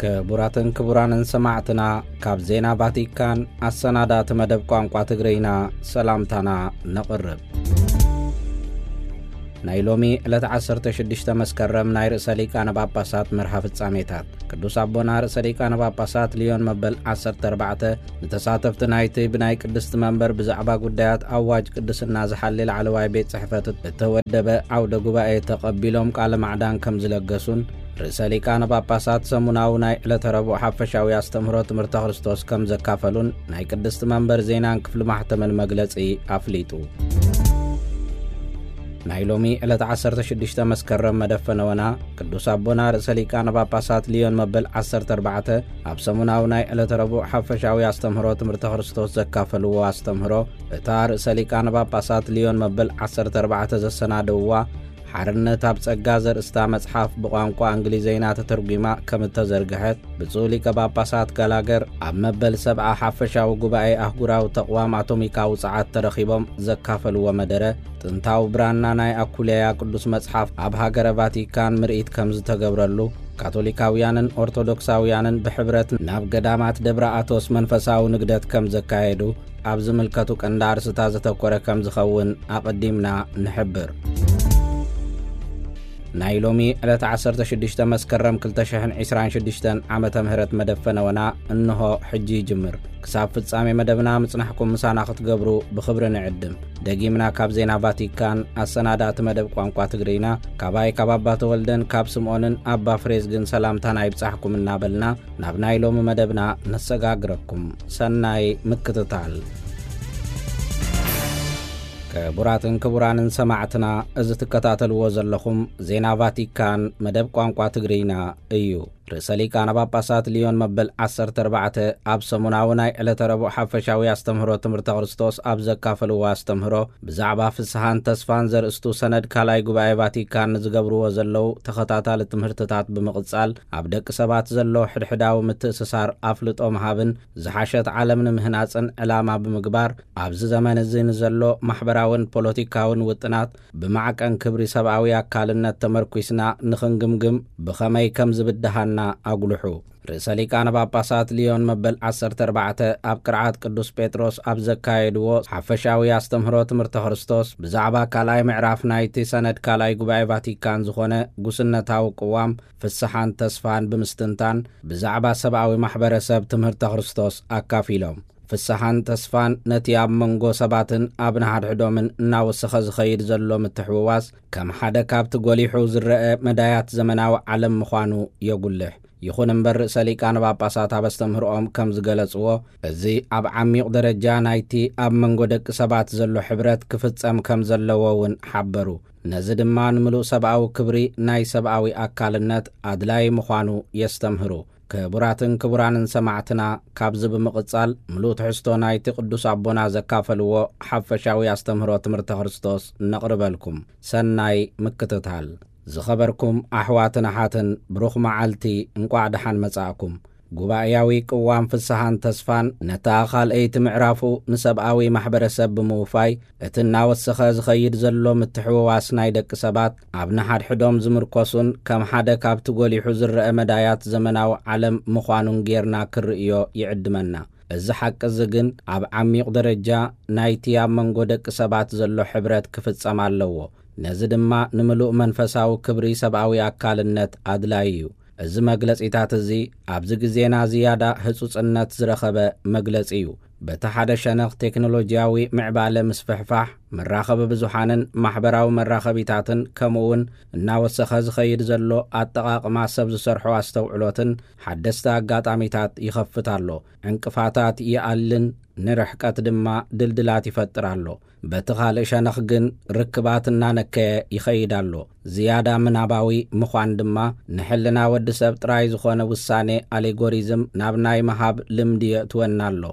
ክቡራትን ክቡራንን ሰማዕትና፣ ካብ ዜና ቫቲካን ኣሰናዳእቲ መደብ ቋንቋ ትግርይና ሰላምታና ነቕርብ። ናይ ሎሚ ዕለት ዓሰርተ ሽዱሽተ መስከረም ናይ ርእሰ ሊቃነ ጳጳሳት መርሃ ፍጻሜታት። ቅዱስ ኣቦና ርእሰ ሊቃነ ጳጳሳት ሊዮን መበል ዓሰርተ ኣርባዕተ ንተሳተፍቲ ናይቲ ብናይ ቅድስቲ መንበር ብዛዕባ ጉዳያት ኣዋጅ ቅድስና ዝሓሊ ላዕለዋይ ቤት ጽሕፈት እተወደበ ዓውደ ጉባኤ ተቐቢሎም ቃለ ማዕዳን ከም ዝለገሱን፣ ርእሰ ሊቃነ ጳጳሳት ሰሙናዊ ናይ ዕለተ ረቡዕ ሓፈሻዊ ኣስተምህሮ ትምህርተ ክርስቶስ ከም ዘካፈሉን ናይ ቅድስቲ መንበር ዜናን ክፍሊ ማሕተምን መግለጺ ኣፍሊጡ። ናይ ሎሚ ዕለት ዓሰርተ ሽዱሽተ መስከረም መደፈነወና ቅዱስ ኣቦና ርእሰ ሊቃነ ጳጳሳት ሊዮን መበል ዓሰርተ ኣርባዕተ ኣብ ሰሙናዊ ናይ ዕለተ ረቡዕ ሓፈሻዊ ኣስተምህሮ ትምህርተ ክርስቶስ ዘካፈልዎ ኣስተምህሮ፣ እታ ርእሰ ሊቃነ ጳጳሳት ሊዮን መበል ዓሰርተ ኣርባዕተ ዘሰናደውዋ ሓርነት ኣብ ጸጋ ዘርእስታ መጽሓፍ ብቋንቋ እንግሊዘይና ተተርጒማ ከም እተዘርግሐት፣ ብፁዕ ሊቀ ጳጳሳት ጋላገር ኣብ መበል ሰብዓ ሓፈሻዊ ጉባኤ ኣህጉራዊ ተቕዋም ኣቶሚካዊ ጸዓት ተረኺቦም ዘካፈልዎ መደረ፣ ጥንታዊ ብራና ናይ ኣኩሌያ ቅዱስ መጽሓፍ ኣብ ሃገረ ቫቲካን ምርኢት ከም ዝተገብረሉ፣ ካቶሊካውያንን ኦርቶዶክሳውያንን ብሕብረት ናብ ገዳማት ደብረ ኣቶስ መንፈሳዊ ንግደት ከም ዘካየዱ ኣብ ዝምልከቱ ቀንዲ ኣርስታት ዘተኮረ ከም ዝኸውን ኣቐዲምና ንሕብር። ናይ ሎሚ ዕለት ዓሰርተ ሽዱሽተ መስከረም ክልተ ሽሕን ዕስራን ሽዱሽተን ዓመተ ምህረት መደብ ፈነወና እንሆ ሕጂ ይጅምር። ክሳብ ፍጻሜ መደብና ምጽናሕኩም ምሳና ክትገብሩ ብኽብሪ ንዕድም። ደጊምና ካብ ዜና ቫቲካን ኣሰናዳእቲ መደብ ቋንቋ ትግርይና፣ ካባይ ካብ ኣባ ተወልደን ካብ ስምዖንን ኣባ ፍሬዝግን ሰላምታና ይብጻሕኩም እናበልና፣ ናብ ናይ ሎሚ መደብና ነሰጋግረኩም። ሰናይ ምክትታል። ክቡራትን ክቡራንን ሰማዕትና፣ እዚ ትከታተልዎ ዘለኹም ዜና ቫቲካን መደብ ቋንቋ ትግርይና እዩ። ርእሰ ሊቃነ ጳጳሳት ሊዮን መበል ዓሰርተ ኣርባዕተ ኣብ ሰሙናዊ ናይ ዕለተ ረቡዕ ሓፈሻዊ ኣስተምህሮ ትምህርተ ክርስቶስ ኣብ ዘካፈልዎ ኣስተምህሮ፣ ብዛዕባ ፍስሓን ተስፋን ዘርእስቱ ሰነድ ካልኣይ ጉባኤ ቫቲካን ንዝገብርዎ ዘለዉ ተኸታታሊ ትምህርትታት ብምቕጻል፣ ኣብ ደቂ ሰባት ዘሎ ሕድሕዳዊ ምትእስሳር ኣፍልጦ ምሃብን ዝሓሸት ዓለም ንምህናጽን ዕላማ ብምግባር፣ ኣብዚ ዘመን እዚ ንዘሎ ማሕበራውን ፖለቲካውን ውጥናት ብማዕቀን ክብሪ ሰብኣዊ ኣካልነት ተመርኲስና ንኽንግምግም ብኸመይ ከም ዝብድሃና ኣጉልሑ። ርእሰ ሊቃነ ጳጳሳት ሊዮን መበል ዓሰርተ ኣርባዕተ ኣብ ቅርዓት ቅዱስ ጴጥሮስ ኣብ ዘካየድዎ ሓፈሻዊ ኣስተምህሮ ትምህርተ ክርስቶስ፣ ብዛዕባ ካልኣይ ምዕራፍ ናይቲ ሰነድ ካልኣይ ጉባኤ ቫቲካን ዝኾነ ጉስነታዊ ቅዋም ፍስሓን ተስፋን ብምስትንታን፣ ብዛዕባ ሰብኣዊ ማሕበረሰብ ትምህርተ ክርስቶስ ኣካፊሎም። ፍስሓን ተስፋን ነቲ ኣብ መንጎ ሰባትን ኣብ ንሓድሕዶምን እናወሰኸ ዝኸይድ ዘሎ ምትሕውዋስ ከም ሓደ ካብቲ ጎሊሑ ዝረአ መዳያት ዘመናዊ ዓለም ምዃኑ የጉልሕ። ይኹን እምበር፣ ርእሰ ሊቃነ ጳጳሳት ኣብ ኣስተምህሮኦም ከም ዝገለጽዎ፣ እዚ ኣብ ዓሚቕ ደረጃ ናይቲ ኣብ መንጎ ደቂ ሰባት ዘሎ ሕብረት ክፍጸም ከም ዘለዎ እውን ሓበሩ። ነዚ ድማ ንምሉእ ሰብኣዊ ክብሪ ናይ ሰብኣዊ ኣካልነት ኣድላዪ ምዃኑ የስተምህሩ። ክቡራትን ክቡራንን ሰማዕትና፣ ካብዚ ብምቕጻል ምሉእ ትሕዝቶ ናይቲ ቅዱስ ኣቦና ዘካፈልዎ ሓፈሻዊ ኣስተምህሮ ትምህርተ ክርስቶስ ነቕርበልኩም። ሰናይ ምክትታል። ዝኸበርኩም ኣሕዋትን ኣሓትን፣ ብሩኽ መዓልቲ፣ እንቋዕ ደሓን መጻእኩም። ጉባኤያዊ ቅዋም ፍስሓን ተስፋን ነታ ካልኣይቲ ምዕራፉ ንሰብኣዊ ማሕበረሰብ ብምውፋይ፣ እቲ እናወሰኸ ዝኸይድ ዘሎ ምትሕውዋስ ናይ ደቂ ሰባት ኣብ ንሓድሕዶም ዝምርኮሱን ከም ሓደ ካብቲ ጎሊሑ ዝረአ መዳያት ዘመናዊ ዓለም ምዃኑን ጌርና ክርእዮ ይዕድመና። እዚ ሓቂ እዚ ግን ኣብ ዓሚቕ ደረጃ ናይቲ ኣብ መንጎ ደቂ ሰባት ዘሎ ሕብረት ክፍጸም ኣለዎ። ነዚ ድማ ንምሉእ መንፈሳዊ ክብሪ ሰብኣዊ ኣካልነት ኣድላዪ እዩ። እዚ መግለጺታት እዚ ኣብዚ ግዜና ዝያዳ ህጹጽነት ዝረኸበ መግለጺ እዩ። በቲ ሓደ ሸነኽ ቴክኖሎጂያዊ ምዕባለ ምስፍሕፋሕ፣ መራኸቢ ብዙሓንን ማሕበራዊ መራኸቢታትን፣ ከምኡውን እናወሰኸ ዝኸይድ ዘሎ ኣጠቓቕማ ሰብ ዝሰርሖ ኣስተውዕሎትን ሓደስቲ ኣጋጣሚታት ይኸፍት ኣሎ። ዕንቅፋታት ይኣልን ንርሕቀት ድማ ድልድላት ይፈጥር ኣሎ። በቲ ካልእ ሸነኽ ግን ርክባት እናነከየ ይኸይድ ኣሎ። ዝያዳ ምናባዊ ምዃን ድማ ንሕልና ወዲ ሰብ ጥራይ ዝኾነ ውሳኔ ኣሌጎሪዝም ናብ ናይ ምሃብ ልምዲ የእትወና ኣሎ።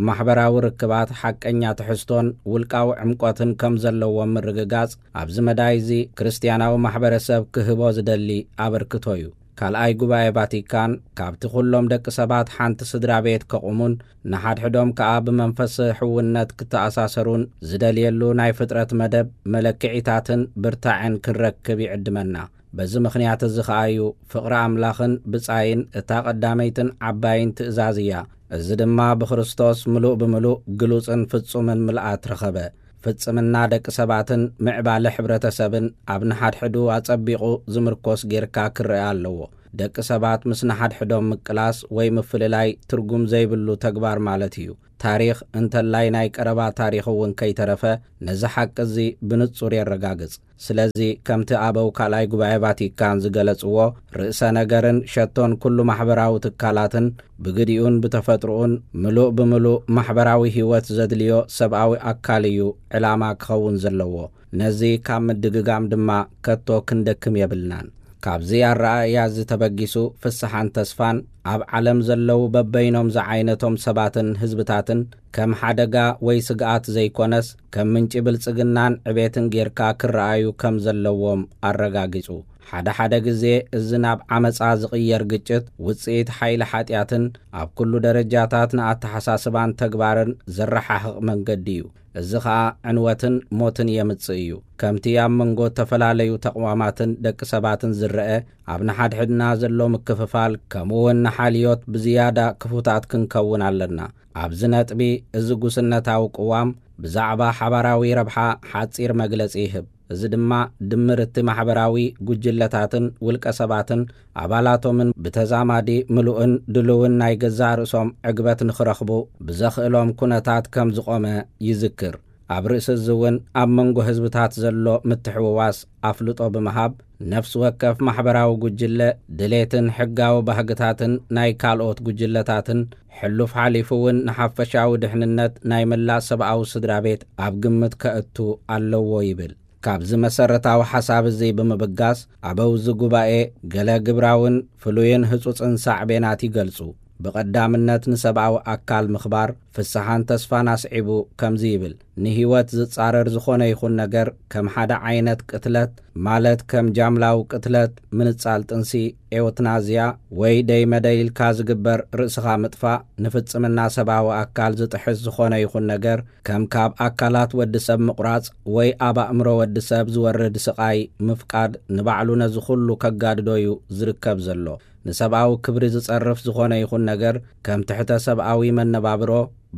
ማሕበራዊ ርክባት ሓቀኛ ትሕዝቶን ውልቃዊ ዕምቆትን ከም ዘለዎም ምርግጋጽ፣ ኣብዚ መዳይ እዚ ክርስትያናዊ ማሕበረሰብ ክህቦ ዝደሊ ኣበርክቶ እዩ። ካልኣይ ጉባኤ ቫቲካን፣ ካብቲ ኩሎም ደቂ ሰባት ሓንቲ ስድራ ቤት ከቑሙን ንሓድሕዶም ከኣ ብመንፈስ ሕውነት ክተኣሳሰሩን ዝደልየሉ ናይ ፍጥረት መደብ መለክዒታትን ብርታዐን ክንረክብ ይዕድመና። በዚ ምኽንያት እዚ ኸኣ እዩ ፍቕሪ ኣምላኽን ብጻይን እታ ቐዳመይትን ዓባይን ትእዛዝ እያ። እዚ ድማ ብክርስቶስ ምሉእ ብምሉእ ግሉጽን ፍጹምን ምልኣት ረኸበ። ፍጽምና ደቂ ሰባትን ምዕባለ ሕብረተሰብን ኣብ ንሓድሕዱ ኣጸቢቑ ዝምርኮስ ጌርካ ክረአ ኣለዎ። ደቂ ሰባት ምስ ንሓድሕዶም ምቅላስ ወይ ምፍልላይ ትርጉም ዘይብሉ ተግባር ማለት እዩ። ታሪኽ እንተላይ ናይ ቀረባ ታሪኽ እውን ከይተረፈ ነዚ ሓቂ እዚ ብንጹር የረጋግጽ። ስለዚ ከምቲ ኣበው ካልኣይ ጉባኤ ቫቲካን ዝገለጽዎ፣ ርእሰ ነገርን ሸቶን ኩሉ ማሕበራዊ ትካላትን ብግዲኡን ብተፈጥሮኡን ምሉእ ብምሉእ ማሕበራዊ ህይወት ዘድልዮ ሰብኣዊ ኣካል እዩ ዕላማ ክኸውን ዘለዎ። ነዚ ካብ ምድግጋም ድማ ከቶ ክንደክም የብልናን። ካብዚ ኣረኣእያ እዚ ተበጊሱ ፍስሓን ተስፋን ኣብ ዓለም ዘለዉ በበይኖም ዝዓይነቶም ሰባትን ህዝብታትን ከም ሓደጋ ወይ ስግኣት ዘይኮነስ ከም ምንጪ ብልጽግናን ዕቤትን ጌርካ ክረኣዩ ከም ዘለዎም ኣረጋጊጹ። ሓደ ሓደ ግዜ እዚ ናብ ዓመጻ ዝቕየር ግጭት ውጽኢት ሓይሊ ሓጢኣትን ኣብ ኩሉ ደረጃታት ንኣተሓሳስባን ተግባርን ዘረሓሕቕ መንገዲ እዩ። እዚ ኸኣ ዕንወትን ሞትን የምጽእ እዩ። ከምቲ ኣብ መንጎ እተፈላለዩ ተቕዋማትን ደቂ ሰባትን ዝረአ፣ ኣብ ንሓድሕድና ዘሎ ምክፍፋል ከምኡ እውን ንሓልዮት ብዝያዳ ክፉታት ክንከውን ኣለና። ኣብዚ ነጥቢ እዚ ጉስነታዊ ቅዋም ብዛዕባ ሓባራዊ ረብሓ ሓጺር መግለጺ ይህብ። እዚ ድማ ድምር እቲ ማሕበራዊ ጉጅለታትን ውልቀ ሰባትን ኣባላቶምን ብተዛማዲ ምሉእን ድሉውን ናይ ገዛእ ርእሶም ዕግበት ንኽረኽቡ ብዘኽእሎም ኩነታት ከም ዝቖመ ይዝክር። ኣብ ርእሲ እዚ እውን ኣብ መንጎ ህዝብታት ዘሎ ምትሕውዋስ ኣፍልጦ ብምሃብ ነፍሲ ወከፍ ማሕበራዊ ጉጅለ ድሌትን ሕጋዊ ባህግታትን ናይ ካልኦት ጉጅለታትን ሕሉፍ ሓሊፉ እውን ንሓፈሻዊ ድሕንነት ናይ መላእ ሰብኣዊ ስድራ ቤት ኣብ ግምት ከእቱ ኣለዎ ይብል። ካብዚ መሰረታዊ ሓሳብ እዚ ብምብጋስ ኣበው እዚ ጉባኤ ገለ ግብራውን ፍሉይን ህጹጽን ሳዕቤናት ይገልጹ። ብቐዳምነት ንሰብኣዊ ኣካል ምኽባር ፍስሓን ተስፋን ኣስዒቡ ከምዚ ይብል፣ ንህይወት ዝጻረር ዝኾነ ይኹን ነገር ከም ሓደ ዓይነት ቅትለት ማለት ከም ጃምላዊ ቅትለት፣ ምንጻል ጥንሲ፣ ኤውትናዝያ ወይ ደይ መደይ ኢልካ ዝግበር ርእስኻ ምጥፋእ፣ ንፍጽምና ሰብኣዊ ኣካል ዝጥሕስ ዝኾነ ይኹን ነገር ከም ካብ ኣካላት ወዲ ሰብ ምቑራጽ ወይ ኣብ ኣእምሮ ወዲ ሰብ ዝወርድ ስቓይ ምፍቃድ ንባዕሉ ነዚ ኩሉ ከጋድዶ እዩ ዝርከብ ዘሎ። ንሰብኣዊ ክብሪ ዝጸርፍ ዝኾነ ይኹን ነገር ከም ትሕተ ሰብኣዊ መነባብሮ፣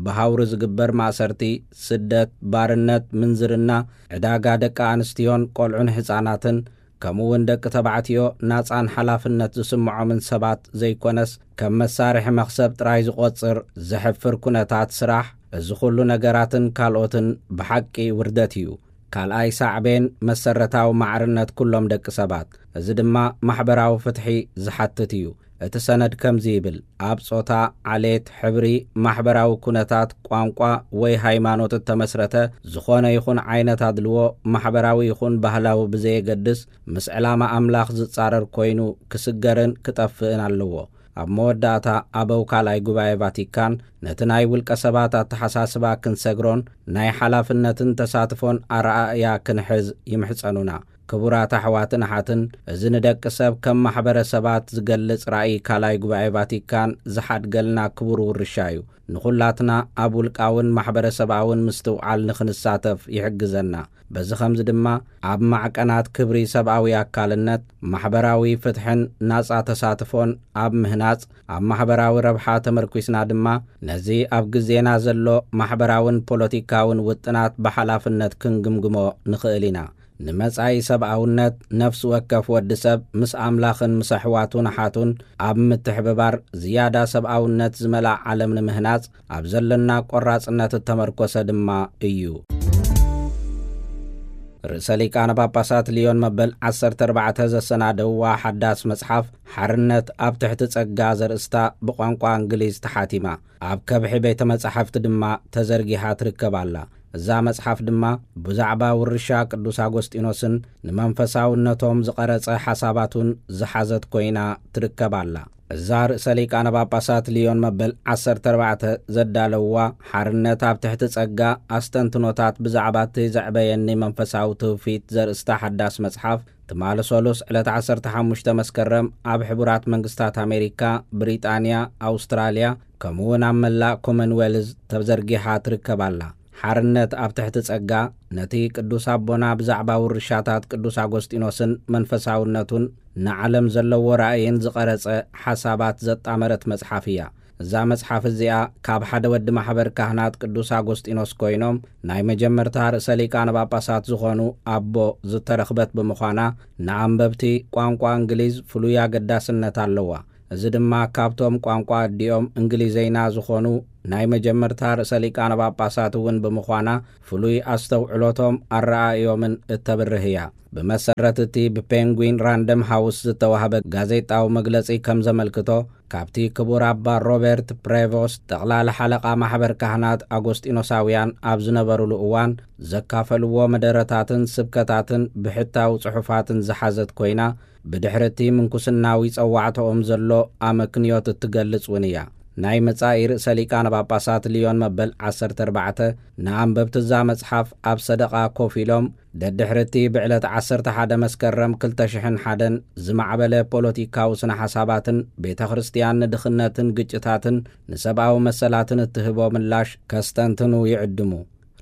ብሃውሪ ዝግበር ማእሰርቲ፣ ስደት፣ ባርነት፣ ምንዝርና፣ ዕዳጋ ደቂ ኣንስትዮን ቆልዑን ህጻናትን ከምኡ እውን ደቂ ተባዕትዮ ናጻን ሓላፍነት ዝስምዖምን ሰባት ዘይኮነስ ከም መሳርሒ መኽሰብ ጥራይ ዝቖጽር ዘሕፍር ኩነታት ስራሕ፣ እዚ ኩሉ ነገራትን ካልኦትን ብሓቂ ውርደት እዩ። ካልኣይ ሳዕቤን መሰረታዊ ማዕርነት ኩሎም ደቂ ሰባት፣ እዚ ድማ ማሕበራዊ ፍትሒ ዝሓትት እዩ። እቲ ሰነድ ከምዚ ይብል፣ ኣብ ጾታ፣ ዓሌት፣ ሕብሪ፣ ማሕበራዊ ኩነታት፣ ቋንቋ ወይ ሃይማኖት እተመስረተ ዝኾነ ይኹን ዓይነት ኣድልዎ፣ ማሕበራዊ ይኹን ባህላዊ ብዘየገድስ፣ ምስ ዕላማ ኣምላኽ ዝጻረር ኮይኑ ክስገርን ክጠፍእን ኣለዎ። ኣብ መወዳእታ ኣበው ካልኣይ ጉባኤ ቫቲካን ነቲ ናይ ውልቀ ሰባት ኣተሓሳስባ ክንሰግሮን ናይ ሓላፍነትን ተሳትፎን ኣረኣእያ ክንሕዝ ይምሕጸኑና። ክቡራት ኣሕዋትን ኣሓትን፣ እዚ ንደቂ ሰብ ከም ማሕበረሰባት ዝገልጽ ራእይ ካልኣይ ጉባኤ ቫቲካን ዝሓድገልና ክቡር ውርሻ እዩ። ንኹላትና ኣብ ውልቃውን ማሕበረሰባውን ምስትውዓል ንኽንሳተፍ ይሕግዘና። በዚ ኸምዚ ድማ ኣብ ማዕቀናት ክብሪ ሰብኣዊ ኣካልነት፣ ማሕበራዊ ፍትሕን ናጻ ተሳትፎን ኣብ ምህናጽ፣ ኣብ ማሕበራዊ ረብሓ ተመርኲስና ድማ ነዚ ኣብ ግዜና ዘሎ ማሕበራውን ፖለቲካውን ውጥናት ብሓላፍነት ክንግምግሞ ንኽእል ኢና። ንመጻኢ ሰብኣውነት፣ ነፍሲ ወከፍ ወዲ ሰብ ምስ ኣምላኽን ምስ ኣሕዋቱን ኣሓቱን ኣብ ምትሕብባር ዝያዳ ሰብኣውነት ዝመልኣ ዓለም ንምህናጽ ኣብ ዘለና ቆራጽነት እተመርኮሰ ድማ እዩ። ርእሰ ሊቃነ ጳጳሳት ሊዮን መበል ዓሰርተ ኣርባዕተ ዘሰናደውዋ ሓዳስ መጽሓፍ ሓርነት ኣብ ትሕቲ ጸጋ ዘርእስታ ብቋንቋ እንግሊዝ ተሓቲማ ኣብ ከብሒ ቤተ መጻሕፍቲ ድማ ተዘርጊሓ ትርከብ ኣላ። እዛ መጽሓፍ ድማ ብዛዕባ ውርሻ ቅዱስ ኣጎስጢኖስን ንመንፈሳውነቶም ዝቐረጸ ሓሳባቱን ዝሓዘት ኮይና ትርከብ ኣላ። እዛ ርእሰ ሊቃነ ጳጳሳት ሊዮን መበል ዓሰርተ ኣርባዕተ ዘዳለውዋ ሓርነት ኣብ ትሕቲ ጸጋ ኣስተንትኖታት ብዛዕባ እቲ ዘዕበየኒ መንፈሳዊ ትውፊት ዘርእስታ ሓዳስ መጽሓፍ ትማሊ ሰሉስ ዕለት ዓሰርተ ሓሙሽተ መስከረም ኣብ ሕቡራት መንግስታት ኣሜሪካ፣ ብሪጣንያ፣ ኣውስትራልያ ከምኡ እውን ኣብ መላእ ኮመንዌልዝ ተዘርጊሓ ትርከብ ኣላ። ሓርነት ኣብ ትሕቲ ጸጋ፣ ነቲ ቅዱስ ኣቦና ብዛዕባ ውርሻታት ቅዱስ ኣጎስጢኖስን መንፈሳውነቱን ንዓለም ዘለዎ ራእይን ዝቐረጸ ሓሳባት ዘጣመረት መጽሓፍ እያ። እዛ መጽሓፍ እዚኣ ካብ ሓደ ወዲ ማሕበር ካህናት ቅዱስ ኣጎስጢኖስ ኮይኖም ናይ መጀመርታ ርእሰ ሊቃነ ጳጳሳት ዝኾኑ ኣቦ ዝተረኽበት ብምዃና፣ ንኣንበብቲ ቋንቋ እንግሊዝ ፍሉይ ኣገዳስነት ኣለዋ። እዚ ድማ ካብቶም ቋንቋ ኣዲኦም እንግሊዘይና ዝኾኑ ናይ መጀመርታ ርእሰ ሊቃነ ጳጳሳት እውን ብምዃና፣ ፍሉይ ኣስተውዕሎቶም ኣረኣእዮምን እተብርህ እያ። ብመሰረት እቲ ብፔንጉዊን ራንደም ሃውስ ዝተዋህበ ጋዜጣዊ መግለጺ ከም ዘመልክቶ፣ ካብቲ ክቡር ኣባ ሮበርት ፕሬቮስት፣ ጠቕላሊ ሓለቓ ማሕበር ካህናት ኣጎስጢኖሳውያን ኣብ ዝነበሩሉ እዋን ዘካፈልዎ መደረታትን ስብከታትን ብሕታዊ ጽሑፋትን ዝሓዘት ኮይና፣ ብድሕሪ እቲ ምንኩስናዊ ጸዋዕታኦም ዘሎ ኣመክንዮት እትገልጽ እውን እያ። ናይ መጻኢ ርእሰ ሊቃነ ጳጳሳት ሊዮን መበል ዓሰርተ ኣርባዕተ ንኣንበብቲ እዛ መጽሓፍ ኣብ ሰደቓ ኮፍ ኢሎም፣ ደድሕሪ እቲ ብዕለት ዓሰርተ ሓደ መስከረም ክልተ ሽሕን ሓደን ዝማዕበለ ፖለቲካዊ ስነ ሓሳባትን ቤተ ክርስቲያን ንድኽነትን ግጭታትን ንሰብኣዊ መሰላትን እትህቦ ምላሽ ከስተንትኑ ይዕድሙ።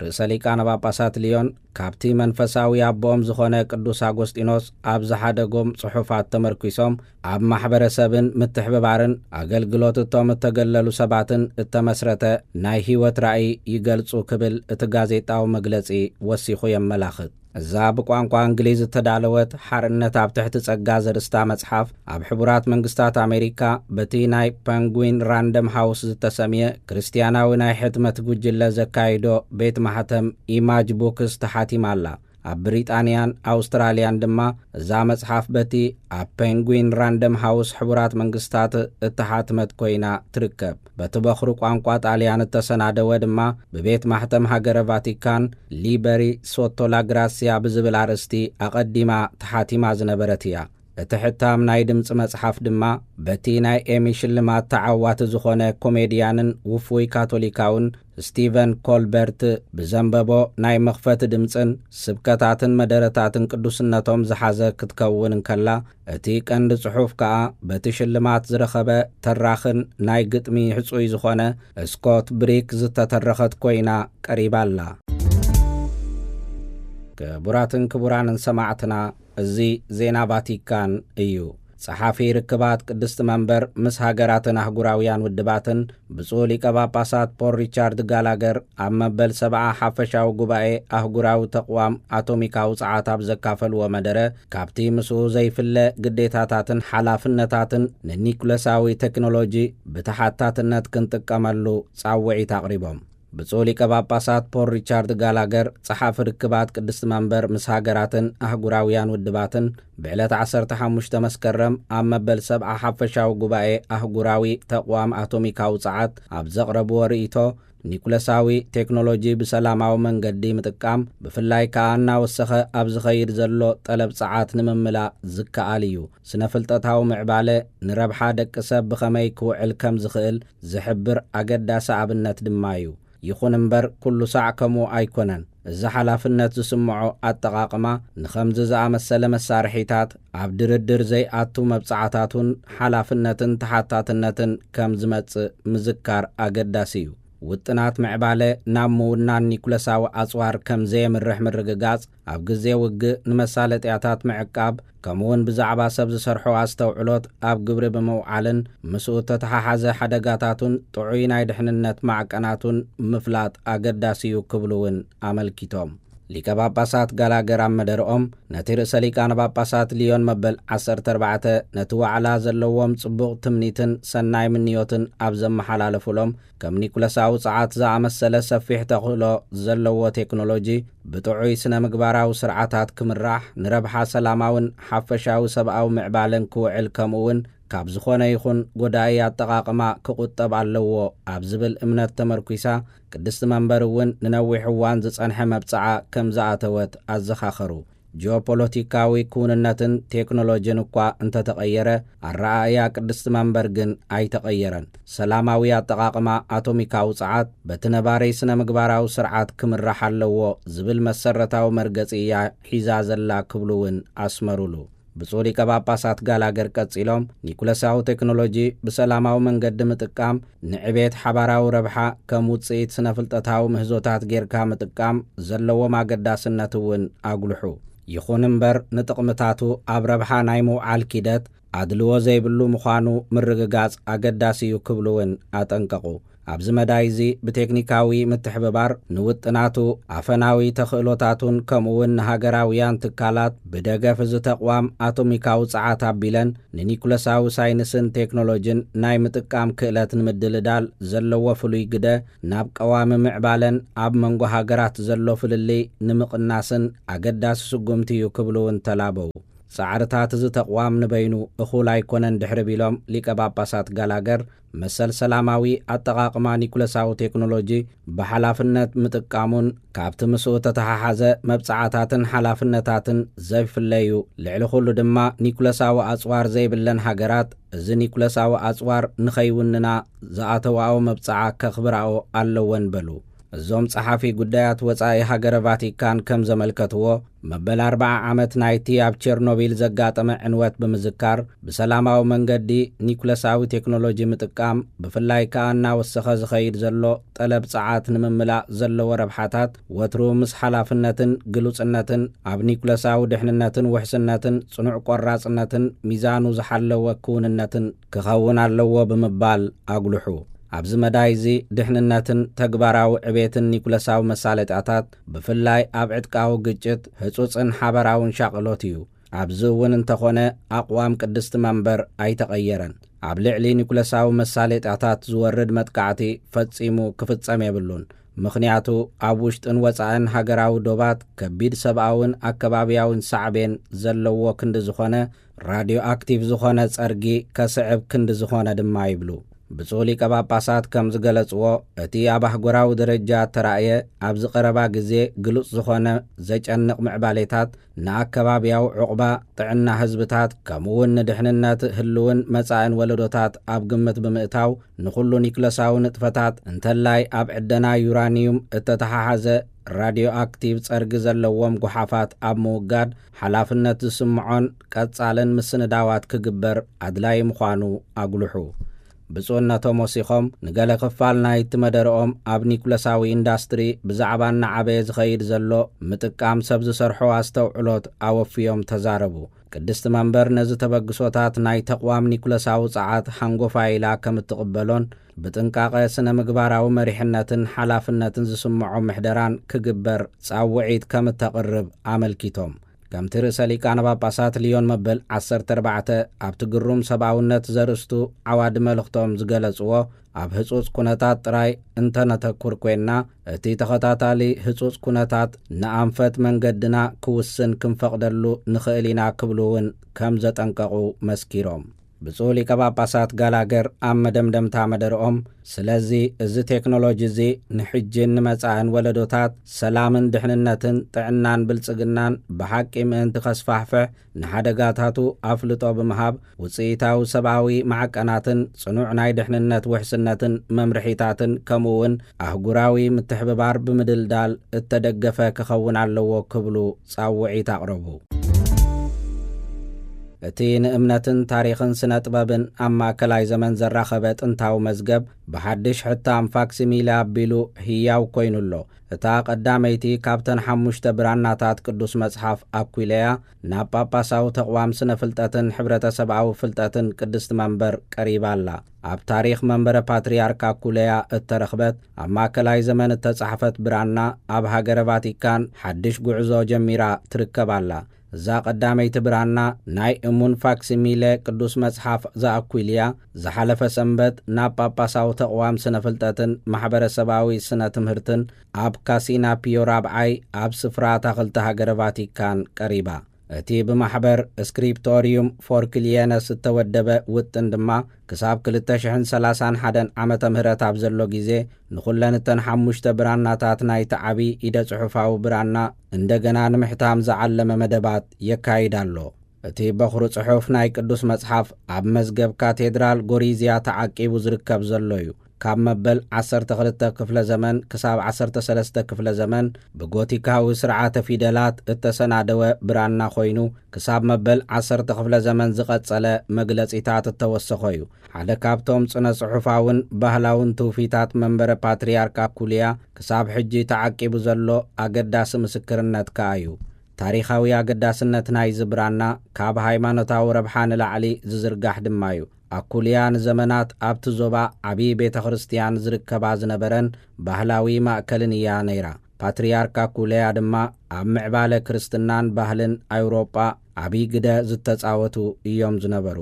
ርእሰ ሊቃነ ጳጳሳት ሊዮን ካብቲ መንፈሳዊ ኣቦኦም ዝኾነ ቅዱስ ኣጎስጢኖስ ኣብ ዝሓደጎም ጽሑፋት ተመርኲሶም፣ ኣብ ማሕበረሰብን ምትሕብባርን ኣገልግሎት እቶም እተገለሉ ሰባትን እተመስረተ ናይ ህይወት ራእይ ይገልጹ ክብል እቲ ጋዜጣዊ መግለጺ ወሲኹ የመላኽት። እዛ ብቋንቋ እንግሊዝ እተዳለወት ሓርነት ኣብ ትሕቲ ጸጋ ዘርእስታ መጽሓፍ፣ ኣብ ሕቡራት መንግስታት ኣሜሪካ በቲ ናይ ፐንጉዊን ራንደም ሃውስ ዝተሰምየ ክርስትያናዊ ናይ ሕትመት ጉጅለ ዘካይዶ ቤት ማሕተም ኢማጅ ቡክስ ተሓቲማ ኣላ። ኣብ ብሪጣንያን ኣውስትራልያን ድማ እዛ መጽሓፍ በቲ ኣብ ፔንጉዊን ራንደም ሃውስ ሕቡራት መንግስታት እተሓትመት ኮይና ትርከብ። በቲ በኹሪ ቋንቋ ጣልያን እተሰናደወ ድማ ብቤት ማሕተም ሃገረ ቫቲካን ሊበሪ ሶቶ ላግራሲያ ብዝብል ኣርእስቲ ኣቐዲማ ተሓቲማ ዝነበረት እያ። እቲ ሕታም ናይ ድምጺ መጽሓፍ ድማ በቲ ናይ ኤሚ ሽልማት ተዓዋቲ ዝኾነ ኮሜድያንን ውፉይ ካቶሊካውን ስቲቨን ኮልበርት ብዘንበቦ ናይ መኽፈቲ ድምጽን ስብከታትን መደረታትን ቅዱስነቶም ዝሓዘ ክትከውን እንከላ፣ እቲ ቀንዲ ጽሑፍ ከኣ በቲ ሽልማት ዝረኸበ ተራኽን ናይ ግጥሚ ሕጹይ ዝኾነ ስኮት ብሪክ ዝተተረኸት ኮይና ቀሪባ ኣላ። ክቡራትን ክቡራንን ሰማዕትና፣ እዚ ዜና ቫቲካን እዩ። ጸሓፊ ርክባት ቅድስቲ መንበር ምስ ሃገራትን ኣህጉራውያን ውድባትን ብፁዕ ሊቀ ጳጳሳት ፖል ሪቻርድ ጋላገር ኣብ መበል ሰብዓ ሓፈሻዊ ጉባኤ ኣህጉራዊ ተቕዋም ኣቶሚካዊ ጸዓት ኣብ ዘካፈልዎ መደረ፣ ካብቲ ምስኡ ዘይፍለ ግዴታታትን ሓላፍነታትን ንኒኩለሳዊ ቴክኖሎጂ ብተሓታትነት ክንጥቀመሉ ጻውዒት ኣቕሪቦም። ብፁዕ ሊቀ ጳጳሳት ፖል ሪቻርድ ጋላገር፣ ጸሓፊ ርክባት ቅድስቲ መንበር ምስ ሃገራትን ኣህጉራውያን ውድባትን፣ ብዕለት ዓሰርተ ሓሙሽተ መስከረም ኣብ መበል ሰብዓ ሓፈሻዊ ጉባኤ ኣህጉራዊ ተቕዋም ኣቶሚካዊ ጸዓት ኣብ ዘቕረብዎ ርእይቶ፣ ኒኩለሳዊ ቴክኖሎጂ ብሰላማዊ መንገዲ ምጥቃም፣ ብፍላይ ከኣ እናወሰኸ ኣብ ዝኸይድ ዘሎ ጠለብ ጸዓት ንምምላእ ዝከኣል እዩ። ስነ ፍልጠታዊ ምዕባለ ንረብሓ ደቂ ሰብ ብኸመይ ክውዕል ከም ዝኽእል ዝሕብር ኣገዳሲ ኣብነት ድማ እዩ። ይኹን እምበር፣ ኩሉ ሳዕ ከምኡ ኣይኮነን። እዚ ሓላፍነት ዝስምዖ ኣጠቓቕማ ንኸምዚ ዝኣመሰለ መሳርሒታት ኣብ ድርድር ዘይኣቱ መብጽዓታቱን ሓላፍነትን ተሓታትነትን ከም ዝመጽእ ምዝካር ኣገዳሲ እዩ። ውጥናት ምዕባለ ናብ ምውናን ኒኩለሳዊ ኣጽዋር ከም ዘየምርሕ ምርግጋጽ፣ ኣብ ግዜ ውግእ ንመሳለጥያታት ምዕቃብ፣ ከምኡውን ብዛዕባ ሰብ ዝሰርሖ ኣስተውዕሎት ኣብ ግብሪ ብምውዓልን ምስኡ እተተሓሓዘ ሓደጋታቱን ጥዑይ ናይ ድሕንነት ማዕቀናቱን ምፍላጥ ኣገዳሲ እዩ ክብሉ እውን ኣመልኪቶም። ሊቀ ጳጳሳት ጋላገር ኣብ መደርኦም፣ ነቲ ርእሰ ሊቃነ ጳጳሳት ሊዮን መበል ዓሰርተ ኣርባዕተ ነቲ ዋዕላ ዘለዎም ጽቡቕ ትምኒትን ሰናይ ምንዮትን ኣብ ዘመሓላለፉሎም፣ ከም ኒኩለሳዊ ጸዓት ዝኣመሰለ ሰፊሕ ተኽእሎ ዘለዎ ቴክኖሎጂ ብጥዑይ ስነ ምግባራዊ ስርዓታት ክምራሕ፣ ንረብሓ ሰላማውን ሓፈሻዊ ሰብኣዊ ምዕባለን ክውዕል፣ ከምኡውን ካብ ዝኾነ ይኹን ጎዳኢ ኣጠቓቕማ ክቑጠብ ኣለዎ ኣብ ዝብል እምነት ተመርኲሳ፣ ቅድስቲ መንበር እውን ንነዊሕ እዋን ዝጸንሐ መብጽዓ ከም ዝኣተወት ኣዘኻኸሩ። ጂኦፖለቲካዊ ክውንነትን ቴክኖሎጂን እኳ እንተተቐየረ፣ ኣረኣእያ ቅድስቲ መንበር ግን ኣይተቐየረን። ሰላማዊ ኣጠቓቕማ ኣቶሚካዊ ጸዓት በቲ ነባሪ ስነ ምግባራዊ ስርዓት ክምራሕ ኣለዎ ዝብል መሰረታዊ መርገጺ እያ ሒዛ ዘላ ክብሉ እውን ኣስመሩሉ። ብፁዕ ሊቀ ጳጳሳት ጋላገር ቀጺሎም፣ ኒኩለሳዊ ቴክኖሎጂ ብሰላማዊ መንገዲ ምጥቃም፣ ንዕቤት ሓባራዊ ረብሓ ከም ውጽኢት ስነ ፍልጠታዊ ምህዞታት ጌርካ ምጥቃም ዘለዎም ኣገዳስነት እውን ኣጉልሑ። ይኹን እምበር፣ ንጥቕምታቱ ኣብ ረብሓ ናይ ምውዓል ኪደት ኣድልዎ ዘይብሉ ምዃኑ ምርግጋጽ ኣገዳሲ እዩ ክብሉ እውን ኣጠንቀቑ። ኣብዚ መዳይ እዚ ብቴክኒካዊ ምትሕብባር ንውጥናቱ፣ ኣፈናዊ ተኽእሎታቱን ከምኡ እውን ንሃገራውያን ትካላት ብደገፍ እዚ ተቕዋም ኣቶሚካዊ ጸዓት ኣቢለን ንኒኩለሳዊ ሳይንስን ቴክኖሎጂን ናይ ምጥቃም ክእለት ንምድልዳል ዘለዎ ፍሉይ ግደ፣ ናብ ቀዋሚ ምዕባለን ኣብ መንጎ ሃገራት ዘሎ ፍልልይ ንምቕናስን ኣገዳሲ ስጉምቲ እዩ ክብሉ እውን ተላበው። ጻዕርታት እዚ ተቕዋም ንበይኑ እኹል ኣይኮነን ድሕሪ ቢሎም ሊቀ ጳጳሳት ጋላገር፣ መሰል ሰላማዊ ኣጠቓቕማ ኒኩለሳዊ ቴክኖሎጂ ብሓላፍነት ምጥቃሙን ካብቲ ምስኡ ተተሓሓዘ መብጽዓታትን ሓላፍነታትን ዘይፍለዩ፣ ልዕሊ ኩሉ ድማ ኒኩለሳዊ ኣጽዋር ዘይብለን ሃገራት እዚ ኒኩለሳዊ ኣጽዋር ንኸይውንና ዝኣተዋኦ መብጽዓ ከኽብራኦ ኣለወን በሉ። እዞም ጸሓፊ ጉዳያት ወጻኢ ሃገረ ቫቲካን ከም ዘመልከትዎ፣ መበል ኣርብዓ ዓመት ናይቲ ኣብ ቸርኖቢል ዘጋጠመ ዕንወት ብምዝካር፣ ብሰላማዊ መንገዲ ኒኩለሳዊ ቴክኖሎጂ ምጥቃም፣ ብፍላይ ከኣ እናወሰኸ ዝኸይድ ዘሎ ጠለብ ጸዓት ንምምላእ ዘለዎ ረብሓታት፣ ወትሩ ምስ ሓላፍነትን ግሉጽነትን ኣብ ኒኩለሳዊ ድሕንነትን ውሕስነትን ጽኑዕ ቆራጽነትን ሚዛኑ ዝሓለወ ክውንነትን ክኸውን ኣለዎ ብምባል ኣጉልሑ። ኣብዚ መዳይ እዚ ድሕንነትን ተግባራዊ ዕቤትን ኒኩለሳዊ መሳለጥያታት፣ ብፍላይ ኣብ ዕጥቃዊ ግጭት፣ ህጹጽን ሓበራውን ሻቕሎት እዩ። ኣብዚ እውን እንተኾነ፣ ኣቕዋም ቅድስቲ መንበር ኣይተቐየረን። ኣብ ልዕሊ ኒኩለሳዊ መሳለጥያታት ዝወርድ መጥቃዕቲ ፈጺሙ ክፍጸም የብሉን። ምኽንያቱ፣ ኣብ ውሽጥን ወጻእን ሃገራዊ ዶባት ከቢድ ሰብኣውን ኣከባብያውን ሳዕቤን ዘለዎ ክንዲ ዝኾነ፣ ራድዮ ኣክቲቭ ዝኾነ ጸርጊ ከስዕብ ክንዲ ዝኾነ ድማ ይብሉ። ብፁዕ ሊቀ ጳጳሳት ከም ዝገለጽዎ፣ እቲ ኣብ ኣህጉራዊ ደረጃ እተራእየ ኣብዚ ቀረባ ግዜ ግሉጽ ዝኾነ ዘጨንቕ ምዕባሌታት፣ ንኣከባብያዊ ዕቑባ፣ ጥዕና ህዝብታት፣ ከምኡውን ንድሕንነት ህልውን መጻእን ወለዶታት ኣብ ግምት ብምእታው፣ ንኹሉ ኒክለሳዊ ንጥፈታት፣ እንተላይ ኣብ ዕደና ዩራኒዩም እተተሓሓዘ ራድዮ ኣክቲቭ ጸርጊ ዘለዎም ጓሓፋት ኣብ ምውጋድ፣ ሓላፍነት ዝስምዖን ቀጻልን ምስንዳዋት ክግበር ኣድላዪ ምዃኑ ኣጉልሑ። ብፁዕነቶም ወሲኾም፣ ንገለ ክፋል ናይቲ መደረኦም ኣብ ኒኩለሳዊ ኢንዳስትሪ ብዛዕባ እናዓበየ ዝኸይድ ዘሎ ምጥቃም ሰብ ዝሰርሖ ኣስተውዕሎት ኣወፍዮም ተዛረቡ። ቅድስቲ መንበር ነዚ ተበግሶታት ናይ ተቕዋም ኒኩለሳዊ ጸዓት ሃንጎፋ ኢላ ከም እትቕበሎን፣ ብጥንቃቐ ስነ ምግባራዊ መሪሕነትን ሓላፍነትን ዝስምዖ ምሕደራን ክግበር ጻውዒት ከም እተቕርብ ኣመልኪቶም። ከምቲ ርእሰ ሊቃነ ጳጳሳት ሊዮን መበል ዓሰርተ ኣርባዕተ ኣብቲ ግሩም ሰብኣውነት ዘርእስቱ ዓዋዲ መልእኽቶም ዝገለጽዎ፣ ኣብ ህጹጽ ኩነታት ጥራይ እንተነተኩር ኮይንና፣ እቲ ተኸታታሊ ህጹጽ ኩነታት ንኣንፈት መንገድና ክውስን ክንፈቕደሉ ንኽእል ኢና ክብሉ እውን ከም ዘጠንቀቑ መስኪሮም። ብፁዕ ሊቀ ጳጳሳት ጋላገር ኣብ መደምደምታ መደርኦም፣ ስለዚ እዚ ቴክኖሎጂ እዚ ንሕጅን ንመጻእን ወለዶታት ሰላምን ድሕንነትን ጥዕናን ብልጽግናን ብሓቂ ምእንቲ ከስፋሕፍሕ፣ ንሓደጋታቱ ኣፍልጦ ብምሃብ፣ ውጽኢታዊ ሰብኣዊ ማዕቀናትን ጽኑዕ ናይ ድሕንነት ውሕስነትን መምርሒታትን፣ ከምኡውን ኣህጉራዊ ምትሕብባር ብምድልዳል እተደገፈ ክኸውን ኣለዎ ክብሉ ጻውዒት ኣቕረቡ። እቲ ንእምነትን ታሪኽን ስነ ጥበብን ኣብ ማእከላይ ዘመን ዘራኸበ ጥንታዊ መዝገብ፣ ብሓድሽ ሕታም ፋክሲሚለ ኣቢሉ ህያው ኮይኑ ኣሎ። እታ ቀዳመይቲ ካብተን ሓሙሽተ ብራናታት ቅዱስ መጽሓፍ ኣኩይለያ፣ ናብ ጳጳሳዊ ተቕዋም ስነ ፍልጠትን ሕብረተሰብኣዊ ፍልጠትን ቅድስቲ መንበር ቀሪባ ኣላ። ኣብ ታሪኽ መንበረ ፓትርያርክ ኣኩለያ እተረኽበት፣ ኣብ ማእከላይ ዘመን እተጻሕፈት ብራና፣ ኣብ ሃገረ ቫቲካን ሓድሽ ጉዕዞ ጀሚራ ትርከብ ኣላ። እዛ ቀዳመይቲ ብራና፣ ናይ እሙን ፋክሲሚለ ቅዱስ መጽሓፍ ዘኣኩይልያ፣ ዝሓለፈ ሰንበት ናብ ጳጳሳዊ ተቕዋም ስነ ፍልጠትን ማሕበረሰባዊ ስነ ትምህርትን ኣብ ካሲና ፒዮ ራብዓይ ኣብ ስፍራ ኣታኽልቲ ሃገረ ቫቲካን ቀሪባ። እቲ ብማሕበር ስክሪፕቶሪዩም ፎር ክሊየነስ እተወደበ ውጥን ድማ፣ ክሳብ ክልተ ሽሕን ሰላሳን ሓደን ዓመተ ምህረት ኣብ ዘሎ ግዜ፣ ንኹለን እተን ሓሙሽተ ብራናታት ናይቲ ዓቢ ኢደ ጽሑፋዊ ብራና እንደገና ንምሕታም ዝዓለመ መደባት የካይድ ኣሎ። እቲ በኹሪ ጽሑፍ ናይ ቅዱስ መጽሓፍ ኣብ መዝገብ ካቴድራል ጎሪዝያ ተዓቂቡ ዝርከብ ዘሎ እዩ። ካብ መበል ዓሰርተ ክልተ ክፍለ ዘመን ክሳብ ዓሰርተ ሰለስተ ክፍለ ዘመን ብጎቲካዊ ስርዓተ ፊደላት እተሰናደወ ብራና ኮይኑ፣ ክሳብ መበል ዓሰርተ ክፍለ ዘመን ዝቐጸለ መግለጺታት እተወሰኾ እዩ። ሓደ ካብቶም ጽነ ጽሑፋውን ባህላውን ትውፊታት መንበረ ፓትርያርክ ኣኩልያ ክሳብ ሕጂ ተዓቂቡ ዘሎ ኣገዳሲ ምስክርነት ከኣ እዩ። ታሪኻዊ ኣገዳስነት ናይዚ ብራና ካብ ሃይማኖታዊ ረብሓ ንላዕሊ ዝዝርጋሕ ድማ እዩ። ኣኩልያ ንዘመናት ኣብቲ ዞባ ዓብዪ ቤተ ክርስቲያን ዝርከባ ዝነበረን ባህላዊ ማእከልን እያ ነይራ። ፓትርያርክ ኣኩልያ ድማ ኣብ ምዕባለ ክርስትናን ባህልን ኣውሮጳ ዓብዪ ግደ ዝተጻወቱ እዮም ዝነበሩ።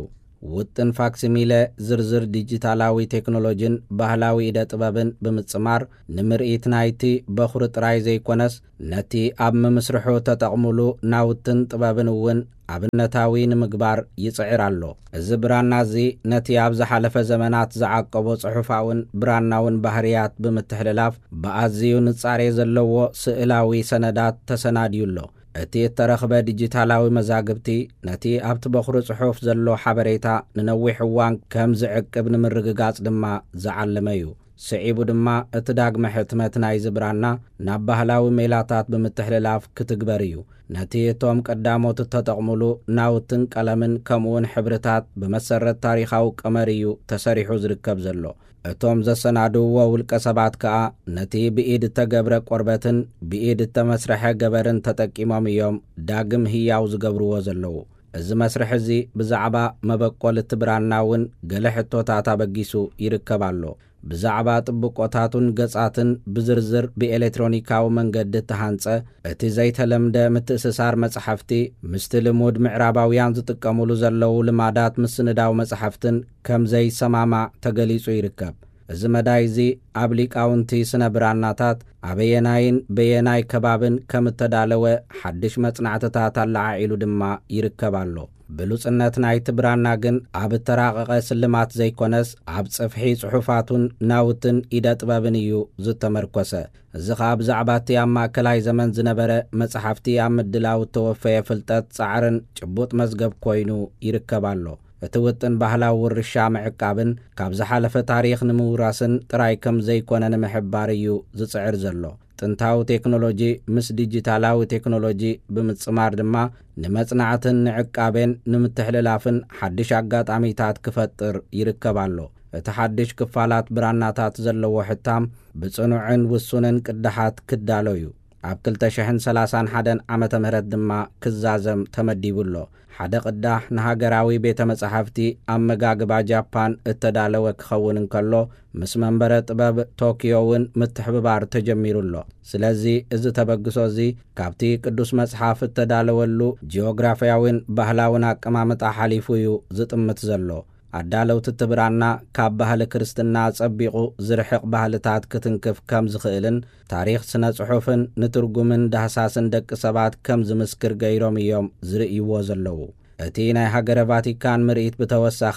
ውጥን ፋክሲሚለ ዝርዝር ዲጂታላዊ ቴክኖሎጂን ባህላዊ ኢደ ጥበብን ብምጽማር፣ ንምርኢት ናይቲ በኹሪ ጥራይ ዘይኮነስ፣ ነቲ ኣብ ምምስርሑ ተጠቕሙሉ ናውትን ጥበብን እውን ኣብነታዊ ንምግባር ይጽዕር ኣሎ። እዚ ብራና እዚ ነቲ ኣብ ዝሓለፈ ዘመናት ዝዓቀቦ ጽሑፋውን ብራናውን ባህርያት ብምትሕልላፍ፣ ብኣዝዩ ንጻሬ ዘለዎ ስእላዊ ሰነዳት ተሰናድዩ ኣሎ። እቲ እተረኽበ ዲጂታላዊ መዛግብቲ ነቲ ኣብቲ በኹሪ ጽሑፍ ዘሎ ሓበሬታ ንነዊሕ እዋን ከም ዝዕቅብ ንምርግጋጽ ድማ ዝዓለመ እዩ። ስዒቡ ድማ እቲ ዳግመ ሕትመት ናይዚ ብራና ናብ ባህላዊ ሜላታት ብምትሕልላፍ ክትግበር እዩ። ነቲ እቶም ቀዳሞት እተጠቕሙሉ ናውትን ቀለምን ከምኡውን ሕብርታት ብመሰረት ታሪኻዊ ቀመር እዩ ተሰሪሑ ዝርከብ ዘሎ። እቶም ዘሰናድውዎ ውልቀ ሰባት ከኣ ነቲ ብኢድ እተገብረ ቆርበትን ብኢድ እተመስርሐ ገበርን ተጠቂሞም እዮም ዳግም ህያው ዝገብርዎ ዘለዉ። እዚ መስርሕ እዚ ብዛዕባ መበቆል እቲ ብራና እውን ገለ ሕቶታት ኣበጊሱ ይርከብ ኣሎ። ብዛዕባ ጥብቆታቱን ገጻትን ብዝርዝር ብኤሌክትሮኒካዊ መንገዲ እተሃንጸ፣ እቲ ዘይተለምደ ምትእስሳር መጻሕፍቲ ምስቲ ልሙድ ምዕራባውያን ዝጥቀሙሉ ዘለዉ ልማዳት ምስንዳው መጻሕፍትን ከም ዘይሰማማዕ ተገሊጹ ይርከብ። እዚ መዳይ እዚ ኣብ ሊቃውንቲ ስነ ብራናታት ኣበየናይን በየናይ ከባብን ከም እተዳለወ ሓድሽ መጽናዕትታት ኣለዓዒሉ ድማ ይርከብ ኣሎ። ብሉጽነት ናይቲ ብራና ግን ኣብ እተራቐቐ ስልማት ዘይኮነስ፣ ኣብ ጽፍሒ ጽሑፋቱን ናውትን ኢደ ጥበብን እዩ ዝተመርኮሰ። እዚ ኸኣ ብዛዕባ እቲ ኣብ ማእከላይ ዘመን ዝነበረ መጻሕፍቲ ኣብ ምድላው እተወፈየ ፍልጠት፣ ጻዕርን ጭቡጥ መዝገብ ኮይኑ ይርከብ ኣሎ። እቲ ውጥን ባህላዊ ውርሻ ምዕቃብን ካብ ዝሓለፈ ታሪኽ ንምውራስን ጥራይ ከም ዘይኮነ ንምሕባር እዩ ዝጽዕር ዘሎ። ጥንታዊ ቴክኖሎጂ ምስ ዲጂታላዊ ቴክኖሎጂ ብምጽማር ድማ ንመጽናዕትን ንዕቃቤን ንምትሕልላፍን ሓድሽ ኣጋጣሚታት ክፈጥር ይርከብ ኣሎ። እቲ ሓድሽ ክፋላት ብራናታት ዘለዎ ሕታም ብጽኑዕን ውሱንን ቅዳሓት ክዳሎ እዩ። ኣብ ክልተ ሽሕን ሰላሳን ሓደን ዓመተ ምህረት ድማ ክዛዘም ተመዲቡ ኣሎ። ሓደ ቅዳሕ ንሃገራዊ ቤተ መጻሕፍቲ ኣመጋግባ ጃፓን እተዳለወ ክኸውን እንከሎ፣ ምስ መንበረ ጥበብ ቶክዮ እውን ምትሕብባር ተጀሚሩ ኣሎ። ስለዚ እዚ ተበግሶ እዚ ካብቲ ቅዱስ መጽሓፍ እተዳለወሉ ጂኦግራፍያዊን ባህላውን ኣቀማምጣ ሓሊፉ እዩ ዝጥምት ዘሎ። ኣዳለውቲ እቲ ብራና ካብ ባህሊ ክርስትና ጸቢቑ ዝርሕቕ ባህልታት ክትንክፍ ከም ዝኽእልን ታሪኽ ስነ ጽሑፍን ንትርጉምን ዳህሳስን ደቂ ሰባት ከም ዝምስክር ገይሮም እዮም ዝርእይዎ ዘለዉ። እቲ ናይ ሃገረ ቫቲካን ምርኢት ብተወሳኺ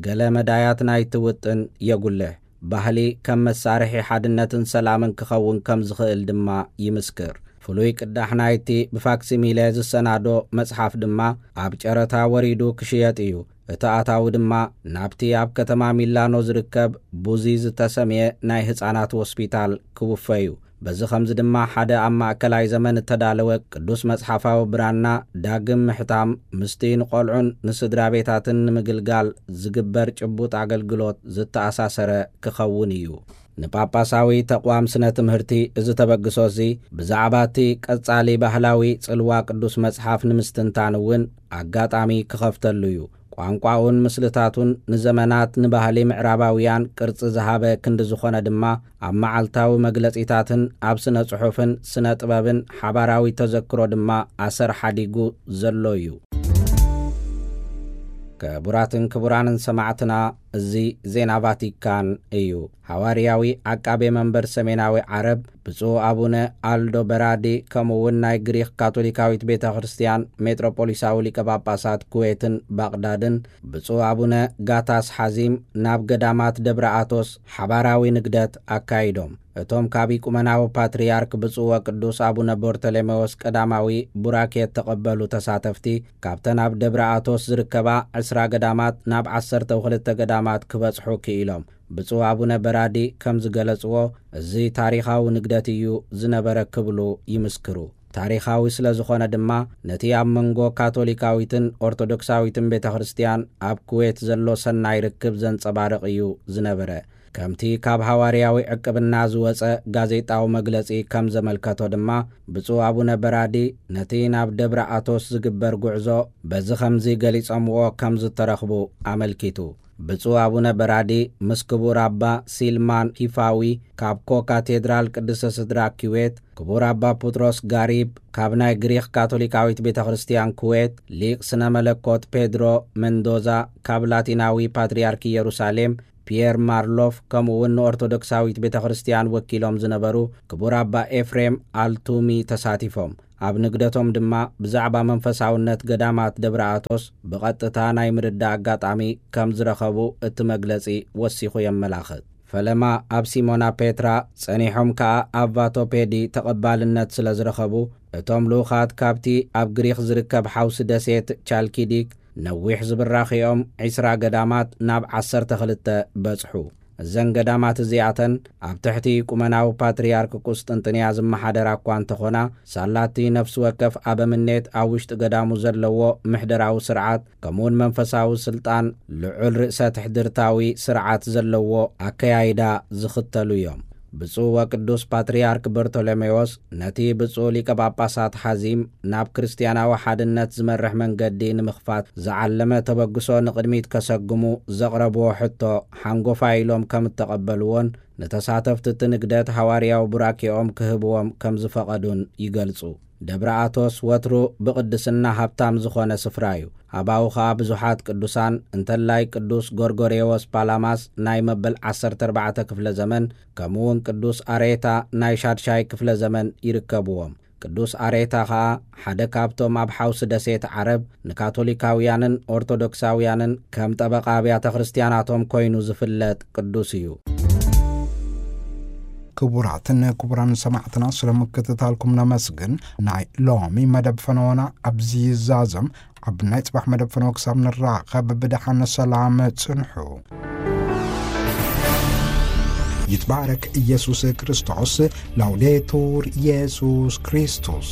ገለ መዳያት ናይቲ ውጥን የጉልሕ። ባህሊ ከም መሳርሒ ሓድነትን ሰላምን ክኸውን ከም ዝኽእል ድማ ይምስክር። ፍሉይ ቅዳሕ ናይቲ ብፋክሲሚለ ዝሰናዶ መጽሓፍ ድማ ኣብ ጨረታ ወሪዱ ክሽየጥ እዩ። እቲ ኣታዊ ድማ ናብቲ ኣብ ከተማ ሚላኖ ዝርከብ ቡዚ ዝተሰምየ ናይ ህጻናት ሆስፒታል ክውፈ እዩ። በዚ ኸምዚ ድማ ሓደ ኣብ ማእከላይ ዘመን እተዳለወ ቅዱስ መጽሓፋዊ ብራና ዳግም ምሕታም ምስቲ ንቖልዑን ንስድራ ቤታትን ንምግልጋል ዝግበር ጭቡጥ ኣገልግሎት ዝተኣሳሰረ ክኸውን እዩ። ንጳጳሳዊ ተቕዋም ስነ ትምህርቲ እዚ ተበግሶ እዚ ብዛዕባ እቲ ቀጻሊ ባህላዊ ጽልዋ ቅዱስ መጽሓፍ ንምስትንታን እውን ኣጋጣሚ ክኸፍተሉ እዩ። ቋንቋኡን ምስልታቱን ንዘመናት ንባህሊ ምዕራባውያን ቅርጺ ዝሃበ ክንዲ ዝኾነ ድማ፣ ኣብ መዓልታዊ መግለጺታትን ኣብ ስነ ጽሑፍን ስነ ጥበብን ሓባራዊ ተዘክሮ ድማ ኣሰር ሓዲጉ ዘሎ እዩ። ክቡራትን ክቡራንን ሰማዕትና፣ እዚ ዜና ቫቲካን እዩ። ሃዋርያዊ ዓቃቤ መንበር ሰሜናዊ ዓረብ ብፁዕ ኣቡነ ኣልዶ በራዲ፣ ከምኡ እውን ናይ ግሪኽ ካቶሊካዊት ቤተ ክርስቲያን ሜትሮፖሊሳዊ ሊቀ ጳጳሳት ኩዌትን ባቕዳድን ብፁዕ ኣቡነ ጋታስ ሓዚም ናብ ገዳማት ደብረ ኣቶስ ሓባራዊ ንግደት ኣካይዶም። እቶም ካብ ኢቁመናዊ ፓትርያርክ ብፁዕ ወቅዱስ ኣቡነ ቦርተሌሜዎስ ቀዳማዊ ቡራኬ እተቐበሉ ተሳተፍቲ፣ ካብተን ኣብ ደብረ ኣቶስ ዝርከባ ዕስራ ገዳማት ናብ ዓሰርተ ክልተ ገዳማት ገዳማት ክበጽሑ ክኢሎም። ብፁዕ ኣቡነ በራዲ ከም ዝገለጽዎ፣ እዚ ታሪኻዊ ንግደት እዩ ዝነበረ ክብሉ ይምስክሩ። ታሪኻዊ ስለ ዝኾነ ድማ፣ ነቲ ኣብ መንጎ ካቶሊካዊትን ኦርቶዶክሳዊትን ቤተ ክርስቲያን ኣብ ኩዌት ዘሎ ሰናይ ርክብ ዘንጸባርቕ እዩ ዝነበረ። ከምቲ ካብ ሃዋርያዊ ዕቅብና ዝወጸ ጋዜጣዊ መግለጺ ከም ዘመልከቶ ድማ፣ ብፁዕ ኣቡነ በራዲ ነቲ ናብ ደብረ ኣቶስ ዝግበር ጉዕዞ በዚ ከምዚ ገሊጾምዎ ከም ዝተረኽቡ ኣመልኪቱ። ብፁዕ ኣቡነ በራዲ ምስ ክቡር ኣባ ሲልማን ሂፋዊ ካብ ኮ ካቴድራል ቅድስተ ስድራ ኪዌት፣ ክቡር ኣባ ፑጥሮስ ጋሪብ ካብ ናይ ግሪኽ ካቶሊካዊት ቤተ ክርስቲያን ኩዌት፣ ሊቅ ስነ መለኮት ፔድሮ መንዶዛ ካብ ላቲናዊ ፓትርያርክ ኢየሩሳሌም ፒየር ማርሎፍ፣ ከምኡ እውን ንኦርቶዶክሳዊት ቤተ ክርስቲያን ወኪሎም ዝነበሩ ክቡር ኣባ ኤፍሬም ኣልቱሚ ተሳቲፎም። ኣብ ንግደቶም ድማ ብዛዕባ መንፈሳውነት ገዳማት ደብረ ኣቶስ ብቐጥታ ናይ ምርዳእ ኣጋጣሚ ከም ዝረኸቡ እቲ መግለጺ ወሲኹ የመላኽት። ፈለማ ኣብ ሲሞና ፔትራ ጸኒሖም ከኣ ኣብ ቫቶፔዲ ተቐባልነት ስለ ዝረኸቡ፣ እቶም ልኡኻት ካብቲ ኣብ ግሪኽ ዝርከብ ሓውሲ ደሴት ቻልኪዲክ ነዊሕ ዝብራኽኦም ዒስራ ገዳማት ናብ ዓሰርተ ክልተ በጽሑ። እዘን ገዳማት እዚኣተን ኣብ ትሕቲ ቁመናዊ ፓትርያርክ ቁስጥንጥንያ ዝመሓደራ እኳ እንተኾና፣ ሳላቲ ነፍሲ ወከፍ ኣበምኔት ኣብ ውሽጢ ገዳሙ ዘለዎ ምሕደራዊ ስርዓት፣ ከምኡውን መንፈሳዊ ስልጣን ልዑል ርእሰ ትሕድርታዊ ስርዓት ዘለዎ ኣከያይዳ ዝኽተሉ እዮም። ብፁዕ ወቅዱስ ፓትርያርክ በርቶሎሜዎስ ነቲ ብፁዕ ሊቀ ጳጳሳት ሓዚም ናብ ክርስትያናዊ ሓድነት ዝመርሕ መንገዲ ንምኽፋት ዝዓለመ ተበግሶ ንቕድሚት ከሰግሙ ዘቕረብዎ ሕቶ ሓንጎፋይ ኢሎም ከም እተቐበልዎን፣ ንተሳተፍቲ እቲ ንግደት ሃዋርያዊ ቡራኬኦም ክህብዎም ከም ዝፈቐዱን ይገልጹ። ደብረ ኣቶስ ወትሩ ብቕድስና ሃብታም ዝኾነ ስፍራ እዩ። ኣባኡ ኸኣ ብዙሓት ቅዱሳን፣ እንተላይ ቅዱስ ጎርጎርዮስ ፓላማስ ናይ መበል ዓሰርተ ኣርባዕተ ክፍለ ዘመን፣ ከምኡውን ቅዱስ ኣሬታ ናይ ሻድሻይ ክፍለ ዘመን ይርከብዎም። ቅዱስ ኣሬታ ኸኣ ሓደ ካብቶም ኣብ ሓውሲ ደሴት ዓረብ ንካቶሊካውያንን ኦርቶዶክሳውያንን ከም ጠበቓ ኣብያተ ክርስትያናቶም ኮይኑ ዝፍለጥ ቅዱስ እዩ። ክቡራትን ክቡራን ሰማዕትና፣ ስለ ምክትታልኩም ነመስግን። ናይ ሎሚ መደብ ፈነወና ኣብዚ ይዛዘም። ኣብ ናይ ጽባሕ መደብ ፈነወ ክሳብ ንራኸብ ብደሓን ሰላም ጽንሑ። ይትባረክ ኢየሱስ ክርስቶስ። ላውዴቱር ኢየሱስ ክርስቶስ።